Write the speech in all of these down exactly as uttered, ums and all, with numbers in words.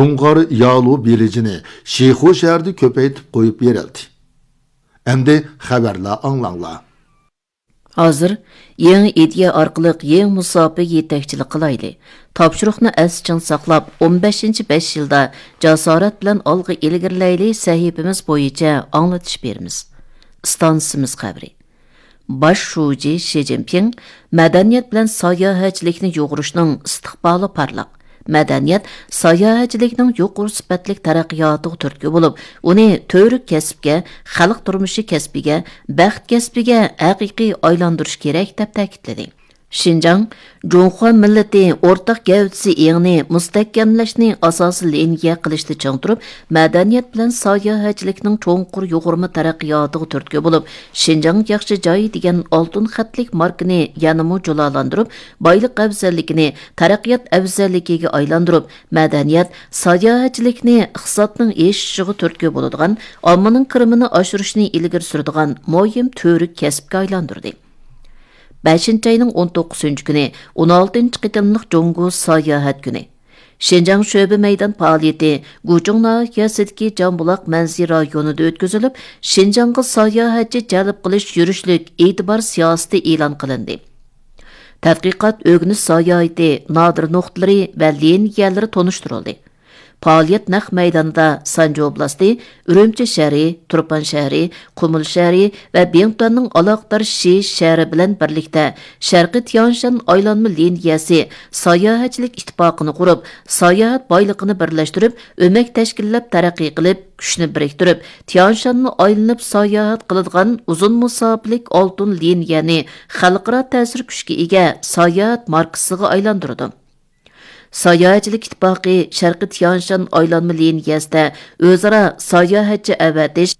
جۇڭغار يالۇ بېلىجىنى شىخۇ شەھىرىدە كۆپەيتىپ قويۇپ بېرىلدى. ئەمدى خەۋەرلەر ئاڭلاڭلار. ھازىر يېڭى ئىدىيە ئارقىلىق يېڭى مۇساپىگە يېتەكچىلىك قىلايلى. تاپشۇرۇقنى ئەستە چىڭ ساقلاپ، ئون بەشىنچى بەش يىلدا جاسارەت بىلەن ئالغا ئىلگىرىلەيلى سەھىپىمىز بويىچە ئاڭلىتىش بېرىمىز. ئىستانسىمىز خەۋىرى. باش شۇجى شى جىنپىڭ مەدەنىيەت بىلەن ساياھەتچىلىكنى يۇغۇرۇشنىڭ ئىستىقبالى پارلاق، مەدەنىيەت ساياھەتچىلىكنىڭ يۇقىرى سۈپەتلىك تەرەققىياتىغا تۈرتكە بولۇپ، ئۇنى تۈۋرۈك كەسىپكە، خەلق تۇرمۇشى كەسپىگە، بەخت كەسپىگە ھەقىقىي ئايلاندۇرۇش كېرەك، دەپ تەكىتلىدى. شىنجاڭ جۇڭخۇا مىللىتى ئورتاق گەۋدىسى ئېڭىنى مۇستەھكەملەشنى ئاساسىي لىنىيە قىلىشتا چىڭ تۇرۇپ، مەدەنىيەت بىلەن ساياھەتچىلىكنىڭ چوڭقۇر يۇغۇرما تەرەققىياتىغا تۈرتكە بولۇپ، شىنجاڭ ياخشى جاي دېگەن ئالتۇن خەتلىك ماركىنى يەنىمۇ جۇلالاندۇرۇپ، بايلىق ئەۋزەللىكىنى تەرەققىيات ئەۋزەللىكىگە ئايلاندۇرۇپ، مەدەنىيەت، ساياھەتچىلىكنى ئىقتىسادنىڭ ئېشىشىغا تۈرتكە بولىدىغان، ئاممىنىڭ كىرىمىنى ئاشۇرۇشنى ئىلگىرى سۈرىدىغان مۇھىم تۈۋرۈك كەسىپكە ئايلاندۇردى. بەشىنچى ئاينىڭ ئون توققۇزىنچى كۈنى ئون ئالتىنچى قېتىملىق جۇڭگو ساياھەت كۈنى. شىنجاڭ شۆبە مەيدان پائالىيىتى گۇچۇڭ ناھىيەسىدىكى جامبۇلاق مەنزىرە رايونىدا ئۆتكۈزۈلۈپ، شىنجاڭغا ساياھەتچى جەلپ قىلىش يۈرۈشلۈك ئېتىبار سىياسىتى ئېلان قىلىندى. تەتقىقات ئۆگىنىش ساياھىتى نادىر نۇقتىلىرى ۋە لىنىيەلىرى تونۇشتۇرۇلدى. پائالىيەت نەق مەيدانىدا سانجى ئوبلاستى، ئۈرۈمچى شەھىرى، تۇرپان شەھىرى، قۇمۇل شەھىرى ۋە بىڭتۈەننىڭ ئالاقىدار شى شەھىرى بىلەن بىرلىكتە شەرقىي تيانشان ئايلانما لىنىيەسى ساياھەتچىلىك ئىتتىپاقىنى قۇرۇپ، ساياھەت بايلىقىنى بىرلەشتۈرۈپ، ئۆمەك تەشكىللەپ تەرەققىي قىلىپ، كۈچنى بىرىكتۈرۈپ، تيانشاننى ئايلىنىپ ساياھەت قىلىدىغان ئۇزۇن مۇساپىلىك ئالتۇن لىنىيەنى خەلقئارا تەسىر كۈچكە ئىگە ساياھەت ماركىسىغا ئايلاندۇرىدۇ. ساياھەتچىلىك ئىتتىپاقى شەرقىي تيانشان ئايلانما لىنىيەسىدە ئۆزئارا ساياھەتچى ئەۋەتىش،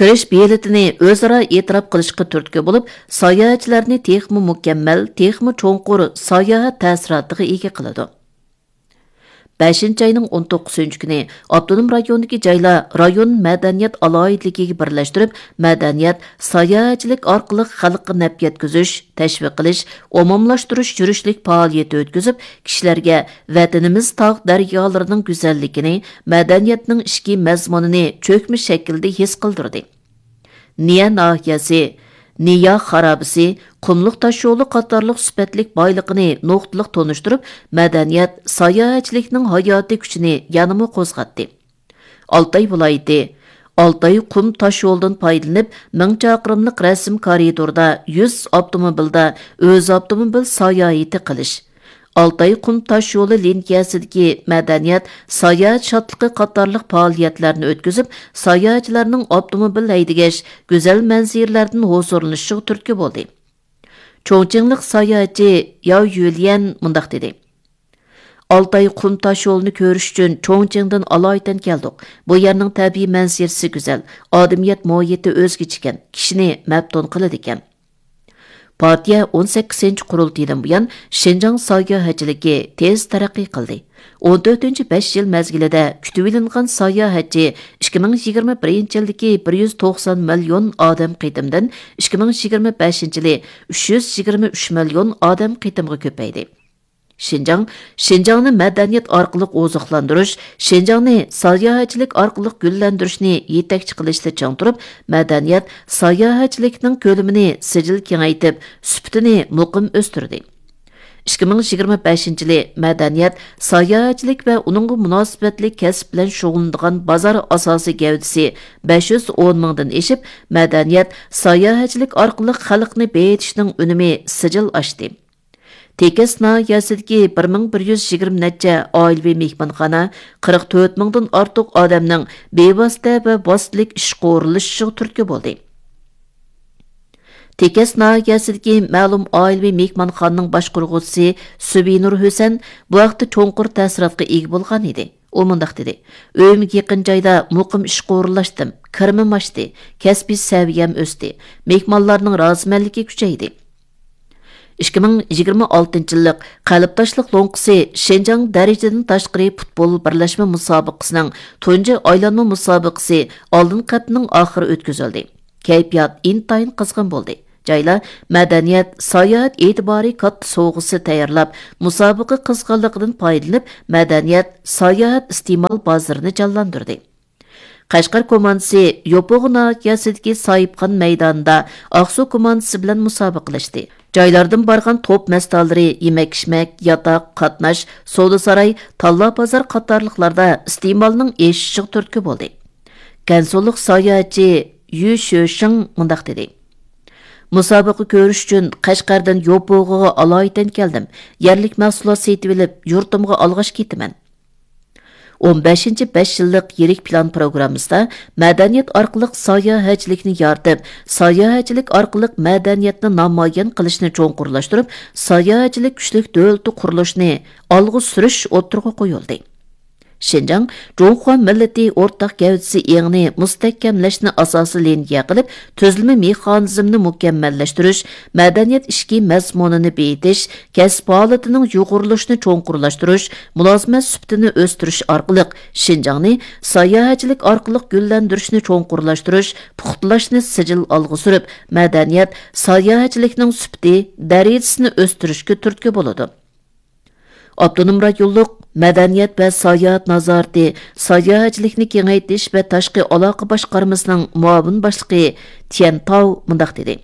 كىرىش بېلىتىنى ئۆزئارا ئېتىراپ قىلىشقا تۈرتكە بولۇپ، ساياھەتچىلەرنى تېخىمۇ مۇكەممەل، تېخىمۇ چوڭقۇر ساياھەت تەسىراتىغا ئىگە قىلىدۇ. بەشىنچى ئاينىڭ ئون توققۇزىنچى كۈنى ئاپتونوم رايوندىكى جايلار رايون مەدەنىيەت ئالاھىدىلىكىگە بىرلەشتۈرۈپ، مەدەنىيەت، ساياھەتچىلىك ئارقىلىق خەلققە نەپ يەتكۈزۈش، تەشۋىق قىلىش، ئومۇملاشتۇرۇش يۈرۈشلۈك پائالىيىتى ئۆتكۈزۈپ، كىشىلەرگە ۋەتىنىمىز تاغ دەريالىرىنىڭ گۈزەللىكىنى، مەدەنىيەتنىڭ ئىچكى مەزمۇنىنى چۆكمە شەكىلدە ھېس قىلدۇردى. نىيە ناھىيەسى، نىيا خارابىسى، قۇملۇق تاشيولى قاتارلىق سۈپەتلىك بايلىقىنى نۇقتىلىق تونۇشتۇرۇپ، مەدەنىيەت، ساياھەتچىلىكنىڭ ھاياتىي كۈچىنى يەنىمۇ قوزغاتتى. ئالتاي ۋىلايىتى، ئالتاي قۇم تاشيولىدىن پايدىلىنىپ، مىڭ چاقىرىملىق رەسىم كارىدوردا يۈز ئاپتوموبىلدا ئۆز ئاپتوموبىل ساياھىتى قىلىش، ئالتاي قۇم تاشيولى لىنىيەسىدىكى مەدەنىيەت، ساياھەت شادلىقى قاتارلىق پائالىيەتلەرنى ئۆتكۈزۈپ، ساياھەتچىلەرنىڭ ئاپتوموبىل ھەيدىگەچ گۈزەل مەنزىرىلەردىن ھۇزۇرلىنىشىغا تۈرتكە بولدى. چۇڭچىڭلىق ساياھەتچى ياۋ يۈليەن مۇنداق دېدى: ئالتاي قۇم تاشيولىنى كۆرۈش ئۈچۈن چۇڭچىڭدىن ئالايىتەن كەلدۇق. بۇ يەرنىڭ تەبىئىي مەنزىرىسى گۈزەل، ئادىمىيەت مۇھىتى ئۆزگىچىكەن، كىشىنى مەپتۇن قىلىدىكەن. پارتىيە ئون سەككىزىنچى قۇرۇلتىيىدىن بۇيان شىنجاڭ ساياھەتچىلىكى تېز تەرەققىي قىلدى. ئون تۆتىنچى بەش يىل مەزگىلىدە كۈتۈۋېلىنغان ساياھەتچى ئىككى مىڭ يىگىرمە بىرىنچى يىلدىكى بىر يۈز توقسان مىليون ئادەم قېتىمدىن ئىككى مىڭ يىگىرمە بەشىنچى يىلى ئۈچ يۈز يىگىرمە ئۈچ مىليون ئادەم قېتىمغا كۆپەيدى. شىنجاڭ، شىنجاڭنى مەدەنىيەت ئارقىلىق ئوزۇقلاندۇرۇش، شىنجاڭنى ساياھەتچىلىك ئارقىلىق گۈللەندۈرۈشنى يېتەكچى قىلىشتا چىڭ تۇرۇپ، مەدەنىيەت، ساياھەتچىلىكنىڭ كۆلىمىنى سىجىل كېڭەيتىپ، سۈپىتىنى مۇقىم ئۆستۈردى. ئىككى مىڭ يىگىرمە بەشىنچى يىلى مەدەنىيەت، ساياھەتچىلىك ۋە ئۇنىڭغا مۇناسىۋەتلىك كەسىپ بىلەن شۇغۇللىنىدىغان بازار ئاساسىي گەۋدىسى بەش يۈز ئون مىڭدىن ئېشىپ، مەدەنىيەت، ساياھەتچىلىك ئارقىلىق خەلقنى بېيىتىشنىڭ ئۈنۈمى سىجىل ئاشتى. تېكەس ناھىيەسىدىكى بىر مىڭ بىر يۈز يىگىرمە نەچچە ئائىلىۋى مېھمانخانا قىرىق تۆت مىڭدىن ئارتۇق ئادەمنىڭ بىۋاسىتە ۋە ۋاسىتىلىك ئىشقا ئورۇنلىشىشىغا تۈرتكە بولدى. تېكەس ناھىيەسىدىكى مەلۇم ئائىلىۋى مېھمانخانىنىڭ باشقۇرغۇچىسى سۈبىنۇر ھۈسەن بۇ ھەقتە چوڭقۇر تەسىراتقا ئىگە بولغان ئىدى. ئۇ مۇنداق دېدى: ئۆيۈمگە يېقىن جايدا مۇقىم ئىشقا ئورۇنلاشتىم، كىرىمىم ئاشتى، كەسپىي سەۋىيەم ئۆستى، مېھمانلارنىڭ رازىمەنلىكى كۈچەيدى. ئىككى مىڭ يىگىرمە ئالتىنچى يىللىق قەلبداشلىق لوڭقىسى شىنجاڭ دەرىجىدىن تاشقىرى پۇتبول بىرلەشمە مۇسابىقىسىنىڭ تۇنجى ئايلانما مۇسابىقىسى ئالدىنقى ھەپتىنىڭ ئاخىرى ئۆتكۈزۈلدى. كەيپىيات ئىنتايىن قىزغىن بولدى. جايلار مەدەنىيەت، ساياھەت ئېتىبارى كاتتا سوۋغىسى تەييارلاپ، مۇسابىقە قىزغىنلىقىدىن پايدىلىنىپ، مەدەنىيەت، ساياھەت ئىستېمال بازىرىنى جانلاندۇردى. قەشقەر كوماندىسى يوپۇغا ناھىيەسىدىكى ساھىبخان مەيدانىدا ئاقسۇ كوماندىسى بىلەن مۇسابىقىلەشتى. جايلاردىن بارغان توپ مەستانلىرى يېمەك-ئىچمەك، ياتاق، قاتناش، سودا ساراي، تاللا بازار قاتارلىقلاردا ئىستېمالنىڭ ئېشىشىغا تۈرتكە بولدى. گەنسۇلۇق ساياھەتچى يۈ شۆشىڭ مۇنداق دېدى: مۇسابىقە كۆرۈش ئۈچۈن قەشقەردىن يوپۇغىغا ئالايىتەن كەلدىم. يەرلىك مەھسۇلات سېتىۋېلىپ، يۇرتۇمغا ئالغاچ كېتىمەن. ئون بەشىنچى بەش يىللىق يىرىك پىلان پروگراممىسىدا مەدەنىيەت ئارقىلىق ساياھەتچىلىكنى يارىتىپ، ساياھەتچىلىك ئارقىلىق مەدەنىيەتنى نامايان قىلىشنى چوڭقۇرلاشتۇرۇپ، ساياھەتچىلىك كۈچلۈك دۆلىتى قۇرۇلۇشىنى ئالغا سۈرۈش ئوتتۇرىغا قويۇلدى. شىنجاڭ جۇڭخۇا مىللىتى ئورتاق گەۋدىسى ئېڭىنى مۇستەھكەملەشنى ئاساسىي لىنىيە قىلىپ، تۈزۈلمە مېخانىزمىنى مۇكەممەللەشتۈرۈش، مەدەنىيەت ئىچكى مەزمۇنىنى بېيىتىش، كەسىپ ھالىتىنىڭ يۇغۇرۇلۇشىنى چوڭقۇرلاشتۇرۇش، مۇلازىمەت سۈپىتىنى ئۆستۈرۈش ئارقىلىق شىنجاڭنى ساياھەتچىلىك ئارقىلىق گۈللەندۈرۈشنى چوڭقۇرلاشتۇرۇش، پۇختىلاشنى سىجىل ئالغا سۈرۈپ، مەدەنىيەت، ساياھەتچىلىكنىڭ سۈپىتى، دەرىجىسىنى ئۆستۈرۈشكە تۈرتكە بولىدۇ. ئاپتونوم رايونلۇق مەدەنىيەت ۋە ساياھەت نازارىتى ساياھەتچىلىكنى كېڭەيتىش ۋە تاشقى ئالاقە باشقارمىسىنىڭ مۇئاۋىن باشلىقى تيەن تاۋ مۇنداق دېدى: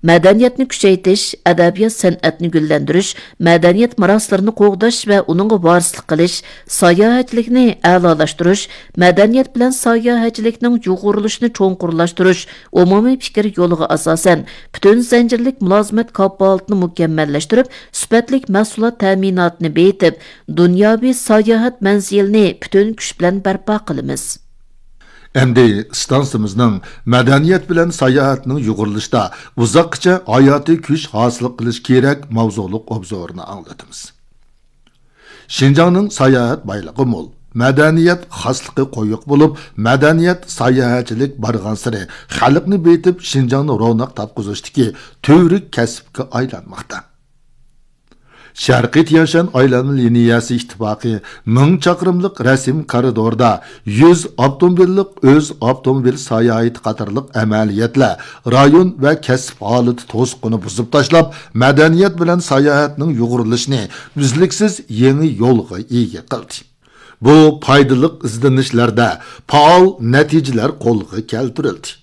مەدەنىيەتنى كۈچەيتىش، ئەدەبىيات سەنئەتنى گۈللەندۈرۈش، مەدەنىيەت مىراسلىرىنى قوغداش ۋە ئۇنىڭغا ۋارىسلىق قىلىش، ساياھەتچىلىكنى ئەلالاشتۇرۇش، مەدەنىيەت بىلەن ساياھەتچىلىكنىڭ يۇغۇرۇلۇشىنى چوڭقۇرلاشتۇرۇش، ئومۇمىي پىكىر يولىغا ئاساسەن، پۈتۈن زەنجىرلىك مۇلازىمەت كاپالىتىنى مۇكەممەللەشتۈرۈپ، سۈپەتلىك مەھسۇلات تەمىناتىنى بېيىتىپ، دۇنياۋى ساياھەت مەنزىلىنى پۈتۈن كۈچ بىلەن بەرپا قىلىمىز. ئەمدى ئىستانسىمىزنىڭ مەدەنىيەت بىلەن ساياھەتنىڭ يۇغۇرۇلۇشىدا ئۇزاققىچە ھاياتىي كۈچ ھاسىل قىلىش كېرەك ماۋزۇلۇق ئوبزورىنى ئاڭلىتىمىز. شىنجاڭنىڭ ساياھەت بايلىقى مول، مەدەنىيەت خاسلىقى قويۇق بولۇپ، مەدەنىيەت، ساياھەتچىلىك بارغانسېرى خەلقنى بېيىتىپ، شىنجاڭنى روناق تاپقۇزۇشتىكى تۈۋرۈك كەسىپكە ئايلانماقتا. شەرقىي تيەنشان ئايلانما لىنىيەسى ئىتتىپاقى مىڭ چاقىرىملىق رەسىم كارىدوردا يۈز ئاپتوموبىللىق ئۆز ئاپتوموبىل ساياھىتى قاتارلىق ئەمەلىيەتلەر رايون ۋە كەسىپ ھالىتى توسۇقىنى بۇزۇپ تاشلاپ، مەدەنىيەت بىلەن ساياھەتنىڭ يۇغۇرۇلۇشىنى ئۈزلۈكسىز يېڭى يولغا ئىگە قىلدى. بۇ پايدىلىق ئىزدىنىشلەردە پائال نەتىجىلەر قولغا كەلتۈرۈلدى.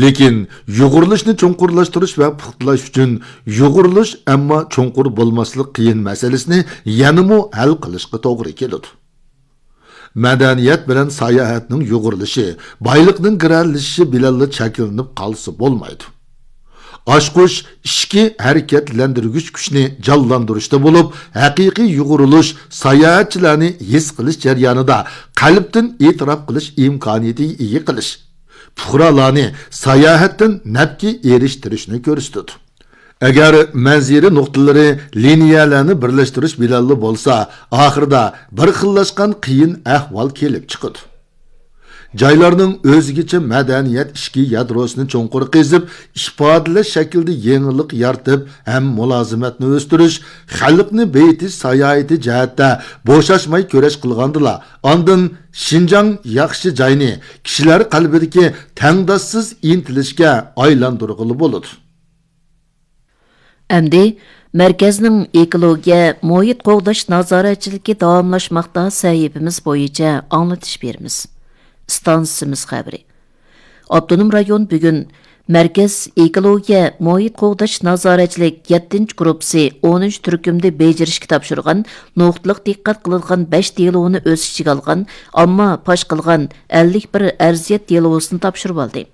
لېكىن يۇغۇرۇلۇشنى چوڭقۇرلاشتۇرۇش ۋە پۇختىلاش ئۈچۈن يۇغۇرۇلۇش، ئەمما چوڭقۇر بولماسلىق قىيىن مەسىلىسىنى يەنىمۇ ھەل قىلىشقا توغرا كېلىدۇ. مەدەنىيەت بىلەن ساياھەتنىڭ يۇغۇرۇلۇشى بايلىقنىڭ گىرەلىشىشى بىلەنلا چەكلىنىپ قالسا بولمايدۇ. ئاچقۇچ ئىچكى ھەرىكەتلەندۈرگۈچ كۈچنى جانلاندۇرۇشتا بولۇپ، ھەقىقىي يۇغۇرۇلۇش ساياھەتچىلەرنى ھېس قىلىش جەريانىدا قەلبتىن ئېتىراپ قىلىش ئىمكانىيىتىگە ئىگە قىلىش، پۇقرالارنى ساياھەتتىن نەپكە ئېرىشتۈرۈشنى كۆرسىتىدۇ. ئەگەر مەنزىرە نۇقتىلىرى لىنىيەلەرنى بىرلەشتۈرۈش بىلەنلا بولسا، ئاخىرىدا بىر خىللاشقان قىيىن ئەھۋال كېلىپ چىقىدۇ. جايلارنىڭ ئۆزگىچە مەدەنىيەت ئىچكى يادروسىنى چوڭقۇر قېزىپ، ئىپادىلەش شەكلىدە يېڭىلىق يارىتىپ ھەم مۇلازىمەتنى ئۆستۈرۈش، خەلقنى بېيىتىش ساياھىتى جەھەتتە بوشاشماي كۈرەش قىلغاندىلا، ئاندىن شىنجاڭ ياخشى جاينى كىشىلەر قەلبىدىكى تەڭداشسىز ئىنتىلىشكە ئايلاندۇرغىلى بولىدۇ. ئەمدى مەركەزنىڭ ئېكولوگىيە، مۇھىت قوغداش نازارەتچىلىكى داۋاملاشماقتا سەھىپىمىز بويىچە ئاڭلىتىش بېرىمىز. ئىستانسىمىز خەۋىرى. ئاپتونوم رايون بۈگۈن مەركەز ئېكولوگىيە، مۇھىت قوغداش نازارەتچىلىك يەتتىنچى گۇرۇپپىسى ئونىنچى تۈركۈمدە بېجىرىشكە تاپشۇرغان نۇقتىلىق دىققەت قىلىدىغان بەش دېلونى ئۆز ئىچىگە ئالغان ئامما پاش قىلغان ئەللىك بىر ئەرزىيەت دېلوسىنى تاپشۇرۇۋالدى.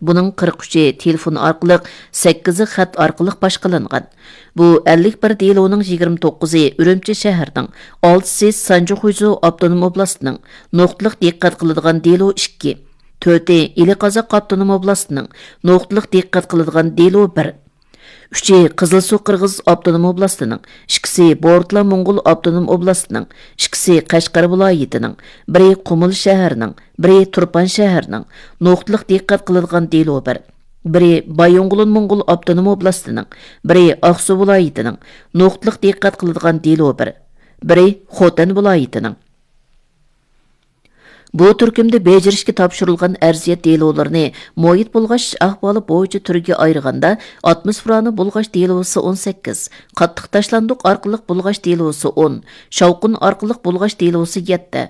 بۇنىڭ قىرىق ئۈچى تېلېفون ئارقىلىق، سەككىزى خەت ئارقىلىق باشقىلانغان. بۇ ئەللىك بىر دېلونىڭ يىگىرمە توققۇزى ئۈرۈمچى شەھىرىنىڭ، ئالتىسى سانجى خۇيزۇ ئاپتونوم ئوبلاستىنىڭ، نۇقتىلىق دىققەت قىلىدىغان دېلو ئىككى، تۆتى ئىلى قازاق ئاپتونوم ئوبلاستىنىڭ، نۇقتىلىق دىققەت قىلىدىغان دېلو بىر، ئۈچى قىزىلسۇ قىرغىز ئاپتونوم ئوبلاستىنىڭ، ئىككىسى بورتلا موڭغۇل ئاپتونوم ئوبلاستىنىڭ، ئىككىسى قەشقەر ۋىلايىتىنىڭ، بىرى قۇمۇل شەھىرىنىڭ، بىرى تۇرپان شەھىرىنىڭ، نۇقتىلىق دىققەت قىلىدىغان دېلو بىر، بىرى بايىنغولىن موڭغۇل ئاپتونوم ئوبلاستىنىڭ، بىرى ئاقسۇ ۋىلايىتىنىڭ، نۇقتىلىق دىققەت قىلىدىغان دېلو بىر، بىرى خوتەن ۋىلايىتىنىڭ. بۇ تۈركۈمدە بېجىرىشكە تاپشۇرۇلغان ئەرزىيەت دېلولىرىنى مۇھىت بۇلغاش ئەھۋالى بويىچە تۈرگە ئايرىغاندا، ئاتموسفېرانى بۇلغاش دېلوسى ئون سەككىز، قاتتىق تاشلاندۇق ئارقىلىق بۇلغاش دېلوسى ئون، شاۋقۇن ئارقىلىق بۇلغاش دېلوسى يەتتە،